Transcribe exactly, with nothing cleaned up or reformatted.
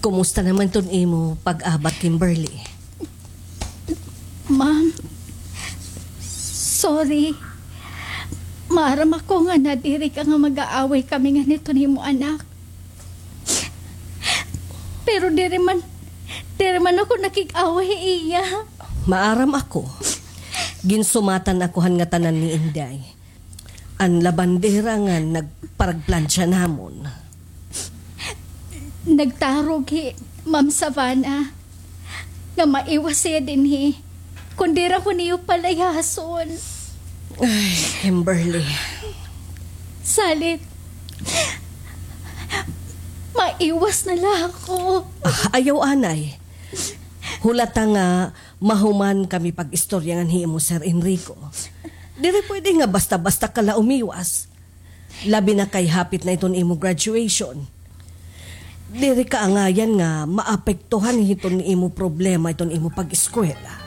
Kumusta naman iton imo pag-abat, Kimberly? Ma'am, sorry. Maaram ako nga nadiri ka nga mag-aaway kami ngan hiton imo anak. Pero diri man, diri man ako nakig-away ha iya. Maaram ako. Ginsumatan ako han ngatanan ni Inday, an labandera nga nagparagplantsa namon. Nagtarog hi Ma'am Savannah nga maiwas hiya dinhi, kundi ra ko niyo palayason. Ay, Kimberly. Salit, maiwas na la ako. Ah, ayaw anay. Hulata nga mahuman kami pag-istorya ngan hi imo Sir Enrico. Diri pwede nga basta-basta ka la umiwas. Labi na kay hapit na iton imo graduation. Diri kaangayan nga maapektuhan hiton imo problema iton imo pag-eskwela.